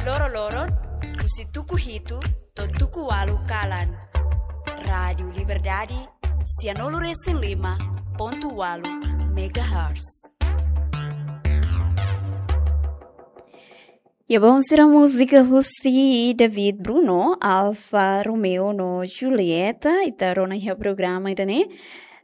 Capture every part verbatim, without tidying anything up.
Loro-loron, husi tuku hitu to'o tuku ualu kalan. Rádiu Liberdade, sianulu resin lima pontu ualu megahertz. Ya, bom, sira múzika husi David Bruno, Alfa Romeo no Julieta, ita rona iha programa ida-ne'e.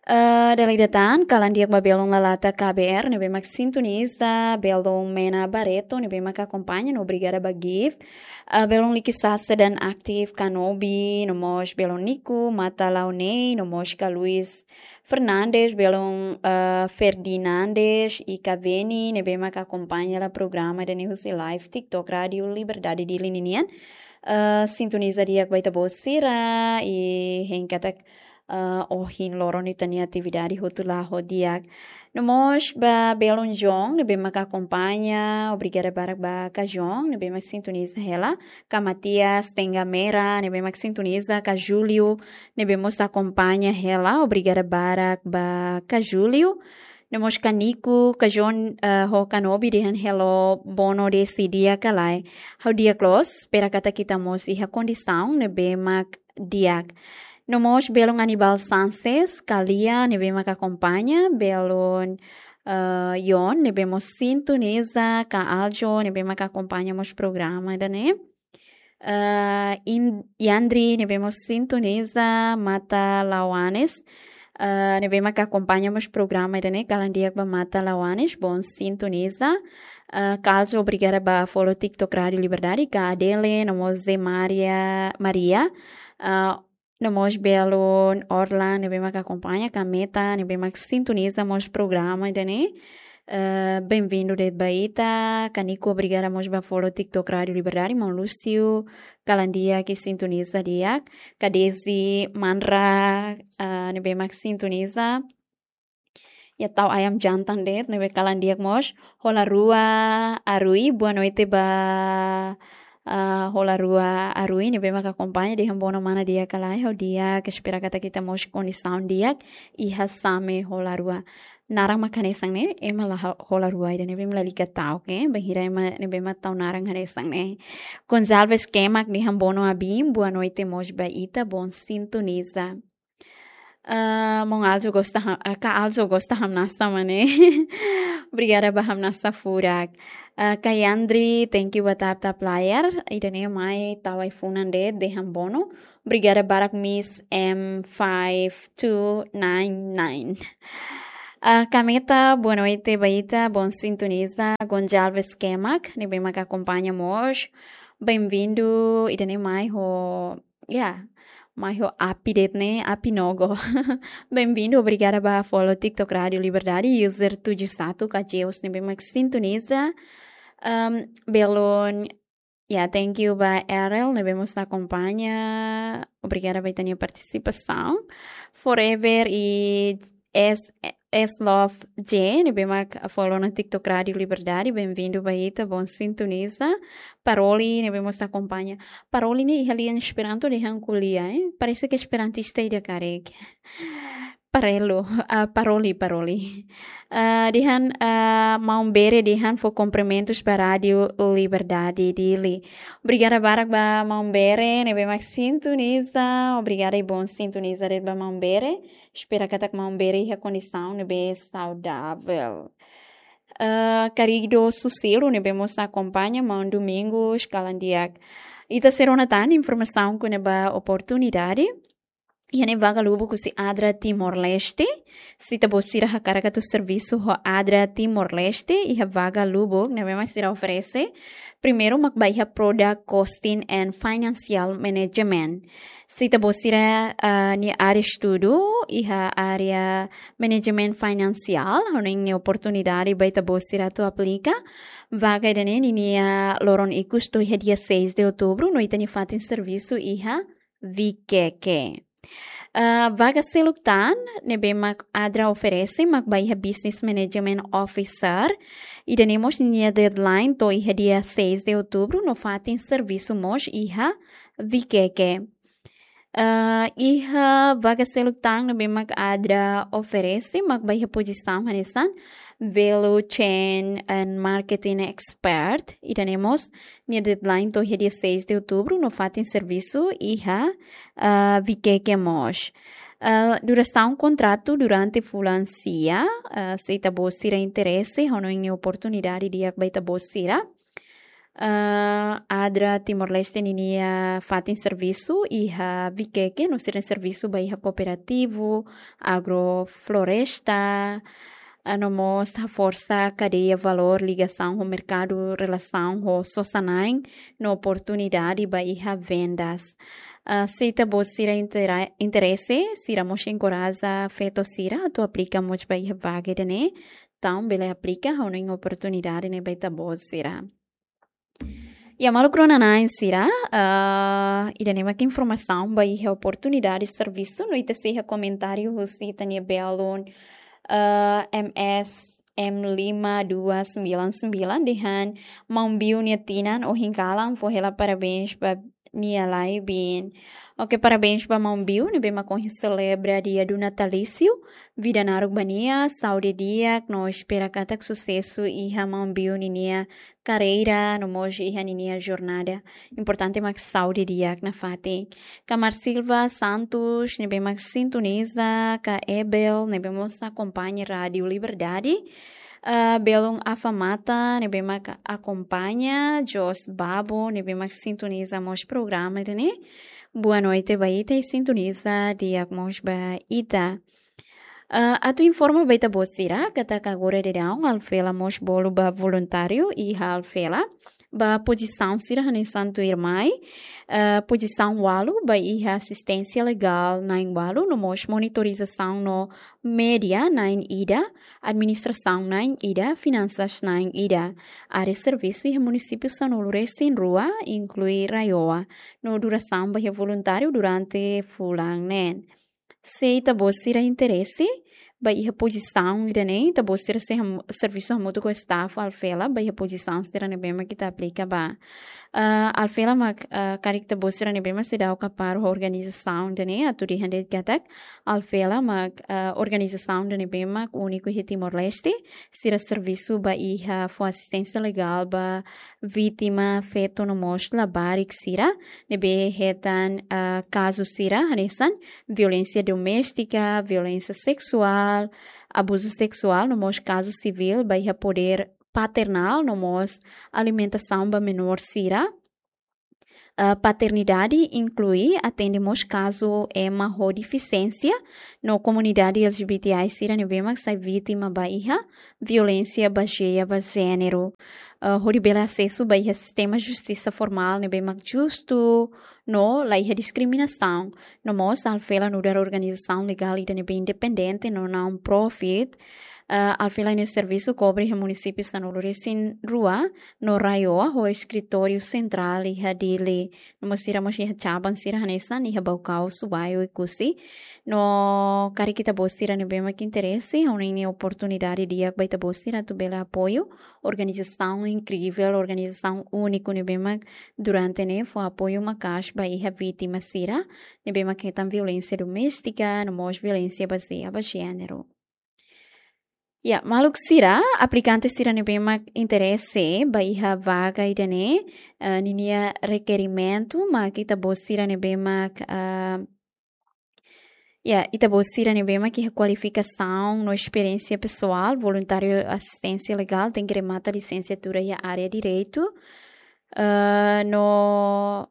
Eh, dala ida tan, kalan di'ak ba belun Lalata K B R, ne'ebé mak sintoniza, belun Mena Barreto, ne'ebé mak akompaña, no obrigada ba gift. Eh, belun Likisasa dan Aktif Kanobi, no mós belun Nico, Mata Launei, no mós ka Luis Fernandes, belun, eh, Ferdinandes, i Kaveni, ne'ebé mak akompaña hela programa ida-ne'e husi live TikTok Rádiu Liberdade Dili ninian. Eh, sintoniza di'ak ba ita-boot sira, i hein katak, eh, ohin loron ita-nia atividade hotu la'o di'ak. No mós ba belun John, ne'ebé mak akompaña, obrigada barak ba ka John, ne'ebé mak sintoniza hela, ka Matias Tenga Mera, ne'ebé mak sintoniza, ka Júlio, ne'ebé mós akompaña hela, obrigada barak ba ka Júlio. No mós ka Nico, ka John, eh, ho Kanobi dehan hello, bono desi di'ak ka lae. Ha'u di'ak loos, espera katak ita mós iha kondisaun ne'ebé mak di'ak. No mós belun Anibal Sanches, ka Lia, ne'ebé mak akompaña, belun, eh, Yon, ne'ebé mós sintoniza, ka Aljo, ne'ebé mak akompaña mós programa ida-ne'e. Eh, In-, Yandri, ne'ebé mós sintoniza, Mata Lawanes, eh, ne'ebé mak akompaña mós programa ida-ne'e, kalan di'ak ba Mata Lawanes, bom sintoniza. Eh, Carlos, obrigada ba follow TikTok Rádiu Liberdade, ka Adele, no mós Zé Maria, Maria, eh, no mós belun Orlan, ne'ebé mak akompaña, ka Meta, ne'ebé mak sintoniza mós programa ida-ne'e. Eh, benvindu de'it ba ita, ka Nico, obrigada mós ba follow TikTok Rádiu Liberdade, maun Lúcio, kalan di'ak i sintoniza di'ak, ka Desi Manra, eh, ne'ebé mak sintoniza. Ya tau ayam jantan de'it, ne'ebé kalan di'ak mós. Hola Rua Arui, boa noite ba, ah, Hola Rua Arui, ne'ebé mak akompaña, dehan bono mana di'ak ka lae, ha'u di'ak, espera katak ita mós kondisaun di'ak, iha Same Hola Rua. Naran mak hanesan ne'e, ema la ho-, Hola Rua ida ne'ebé mak lalika ta'uk, eh, bainhira ema ne'ebé mak tau naran hanesan ne'e. Gonçalves Kemak dehan bono abin, boa noite mós ba ita, bom sintoniza. Ah, maun Aljo gosta ha-, ah, ka Aljo gosta hamnasa mak ne'e. Obrigada ba hamnasa furak. Ah, ka Yandri, thank you ba tap tap layar. Ida-ne'e mai tau ai-funan de'it, dehan bono. Obrigada barak Miss M five two nine nine. Ah, ka Meta, boa noite ba ita, bom sintoniza. Gonçalves Kemak, ne'ebé mak akompaña mós. Benvindu, ida-ne'e mai ho Ya, mai ho api de'it ne'e, api nogo. Benvindu, obrigada ba follow TikTok Rádiu Liberdade, user tujuh satu, ka Jeus ne'ebé mak sintoniza. Ehm, belun, ya, thank you ba Erel, ne'ebé mós akompaña. Obrigada ba ita-nia partisipasaun. Forever i S, S Love J, ne'ebé mak follow ona TikTok Rádiu Liberdade, benvindu ba ita, bom sintoniza. Paroli, ne'ebé mós akompaña. Paroli ne'e iha lian Esperanto dehan ko'alia, eh? Parese ke esperantista ida karik. Parelu, ah, paroli, paroli. Ah, dehan, ah, maun Bere dehan fó kumprimentus ba Rádiu Liberdade Dili. Obrigada barak ba maun Bere, ne'ebé mak sintoniza. Obrigada i bom sintoniza de'it ba maun Bere. Espera katak maun Bere iha kondisaun ne'ebé saudavel. Eh, Carido Susilo, ne'ebé mós akompaña, maun Domingos, kalan di'ak. Ita sei rona tan informasaun kona-ba oportunidade. Iha ne'e vaga lubuk husi ADRA Timor-Leste. Se ita-boot sira hakarak atu servisu ho ADRA Timor-Leste, iha vaga lubuk ne'ebé mak sira oferese. Primeiru mak ba iha Product Costing and Financial Management. Se ita-boot sira, ah, nia área estudu iha área management finansiál, ha'u hanoin ne'e oportunidade ba ita-boot sira atu aplika. Vaga ida-ne'e ninia loron ikus to'o iha dia seis de outubro, no ita-nia fatin servisu iha Viqueque. Ah, vaga seluk tan ne'ebé mak ADRA oferese mak ba iha Business Management Officer. Ida-ne'e mós ninia deadline to'o iha dia seis de outubro, no fatin servisu mós iha Viqueque. Ah, iha vaga seluk tan ne'ebé mak ADRA oferese mak ba iha pozisaun hanesan Value Chain and Marketing Expert, ida-ne'e mós nia deadline to'o iha dia seis de outubro, no fatin servisu iha, ah, Viqueque mós. Ah, durasaun kontratu durante fulan sia, ah, se ita-boot sira interese, ha'u hanoin ne'e oportunidade di'ak ba ita-boot sira. Ah, ADRA Timor-Leste ninia fatin servisu iha Viqueque, no sira servisu ba iha kooperativu, agrofloresta, ah, no mós haforsa kadeia valór, ligasaun ho merkadu, relasaun ho sosa-na'in, no oportunidade ba iha vendas. Ah, se ita-boot sira intera-, interese, sira mós enkoraja feto sira atu aplika mós ba iha vaga ida-ne'e. Entaun bele aplika, ha'u hanoin oportunidade ne'e ba ita-boot sira. Ya, maluk rona-na'in sira, ah, ida-ne'e mak informasaun ba iha oportunidade servisu, no ita sei iha komentáriu husi ita-nia belun, ah, M S M lima dua sembilan sembilan, dehan maun Biu nia tinan ohin kalan, fó hela parabéns ba nia lai-biin. Oke, parabéns ba maun Biu, ne'ebé mak ohin selebra dia do natalício. Vida naruk ba nia, saúde di'ak, no espera katak susesu iha maun Biu ninia karreira, no mós iha ninia jornada. Importante mak saúde di'ak nafatin. Ka Marsilva Santos, ne'ebé mak sintoniza, ka Ebel, ne'ebé mós akompaña Rádiu Liberdade. Ah, belun Afa Mata, ne'ebé mak akompaña, Jos Babo, ne'ebé mak sintoniza mós programa ida-ne'e. Boa noite ba ita, i sintoniza di'ak mós ba ita. Ah, atu informa ba ita-boot sira, katak agora daudaun Alfela mós bolu ba voluntáriu iha Alfela, ba pozisaun sira hanesan tuirmai, ah, pozisaun ualu ba iha asisténsia legál na'in ualu, no mós monitorizasaun no média na'in ida, administrasaun na'in ida, finansas na'in ida. Área servisu iha munisípiu sanulu-resin-rua, inklui RAEOA, no durasaun ba iha voluntáriu durante fulan neen. Se ita-boot sira interese ba iha pozisaun ida-ne'e, ita-boot sira sei ham-, servisu hamutuk ho staff Alfela ba iha pozisaun sira ne'ebé mak ita aplika ba. Ah, Alfela mak, ah, karik ita-boot sira ne'ebé mak seidauk kapar ho organizasaun ida-ne'e, atu dehan de'it katak Alfela mak, ah, organizasaun ida ne'ebé mak úniku iha Timor-Leste, sira servisu ba iha fó asisténsia legál ba vítima feto no mós labarik sira ne'ebé hetan, ah, kazu sira hanesan violénsia doméstika, violénsia seksuál, abuzu seksuál, no mós kazu sivíl ba iha podér paternál, no mós alimentasaun ba menór sira. Ah, paternidade inklui atende mós kazu ema ho defisiénsia, no komunidade L G B T I sira ne'ebé mak sai vítima ba iha violénsia bazeia ba jéneru. Ah, hodi bele asesu ba iha sistema justisa formál ne'ebé mak justu, no la iha diskriminasaun. No mós Alfela nu'udar organizasaun legál ida ne'ebé independente no non-profit. Ah, Alfela nia servisu kobre iha munisípiu sanulu-resin-rua, no RAEOA ho eskritóriu sentrál iha Dili. No mós sira mós iha cabang sira hanesan iha Baucau, Subai, Oekusi. No karik ita-boot sira ne'ebé mak interese, ha'u hanoin ne'e oportunidade di'ak ba ita-boot sira atu bele apoiu organizasaun inkrível, organizasaun úniku ne'ebé mak durante ne'e fó apoiu maka'as ba iha vítima sira ne'ebé mak hetan violénsia doméstika, no mós violénsia bazeia ba jéneru. Ya, maluk sira, aplikante sira ne'ebé mak interese ba iha vaga ida-ne'e, eh, ninia rekerimentu mak ita-boot sira ne'ebé mak, ah, ya, ita-boot sira ne'ebé mak iha kualifikasaun no esperiénsia pesoál, voluntáriu asisténsia legál, tenke remata lisensiatura iha área direitu, eh, no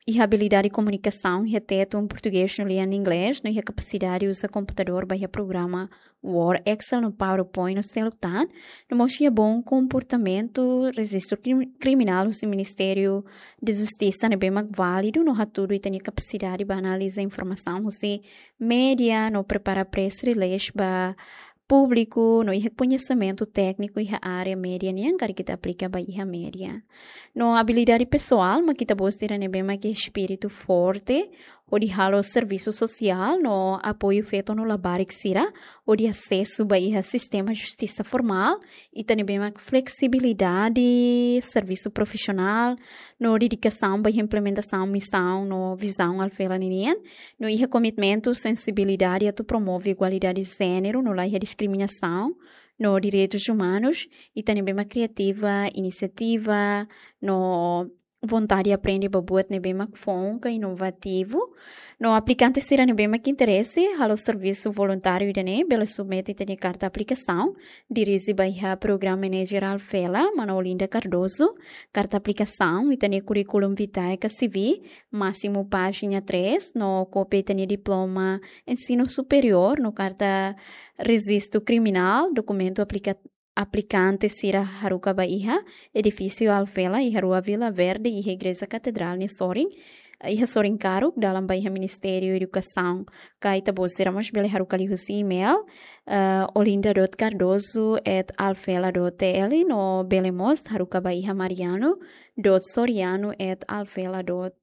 iha abilidade komunikasaun iha Tetun, portugés no lian inglés, no iha kapasidade uza komputadór ba iha programa Word, Excel no PowerPoint no seluk tan, no mós iha bom komportamentu, rejistru krim-, kriminál husi Ministériu da Justisa ne'ebé mak válidu, no hatudu ita-nia kapasidade ba analiza informasaun husi média, no prepara press release ba públiku, no iha koñesimentu tékniku iha área média nian, karik ita aplika ba iha média. No abilidade pesoál mak ita-boot sira ne'ebé mak iha espíritu forte hodi halo servisu sosiál no apoiu feto no labarik sira hodi asesu ba iha sistema justisa formál, ita ne'ebé mak fleksibilidade, servisu profisionál, no dedikasaun ba iha implementasaun misaun no vizaun Alfela ninian, no iha komitmentu, sensibilidade atu promove igualdade de jéneru, no la iha diskriminasaun, no direitus umanus, ita ne'ebé mak kriativa, inisiativa, no vontade aprende ba buat ne'ebé mak foun ka inovativu. No aplikante sira ne'ebé mak interese halo servisu voluntáriu ida-ne'e, bele submete ita-nia karta aplikasaun, dirije ba iha Program Manager Alfela, mana Olinda Cardoso. Karta aplikasaun, ita-nia curriculum vitae ka C V, másimu pájina três, no kópia ita-nia diploma ensinu superiór, no karta rejistu kriminál, dokumentu aplika-, aplikante sira haruka ba iha edifísiu Alfela, iha Rua Vila Verde, iha Igreja Katedrál nia sorin, iha sorin karuk, dalan ba iha Ministériu Edukasaun. Ka ita-boot sira mós bele haruka liuhusi email, eh, olinda dot cardoso at alfela dot T L, no bele mós haruka ba iha mariano dot soriano at alfela dot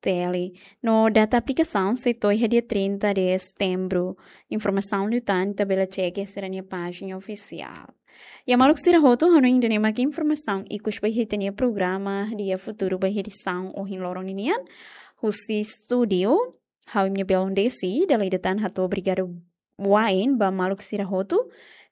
T L. No data aplikasaun sei to'o iha dia trinta de setembro. Informasaun liután ita bele cek iha sira-nia pájina ofisiál. Ya maluk sira hotu, hanoin ida-ne'e mak informasaun ikus ba iha ita-nia programa Dia Futuru ba iha edisaun ohin loron ninian. Husi estúdiu, ha'u imi-nia belun Desi, dala ida tan hato'o obrigadu wa'in ba maluk sira hotu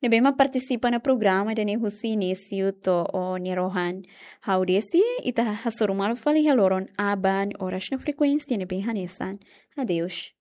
ne'ebé mak partisipa ona programa ida-ne'e husi inísiu to'o nia rohan. Ha'u Desi, ita hasoru malu fali iha loron aban oras no frekuénsia ne'ebé hanesan. Adeus.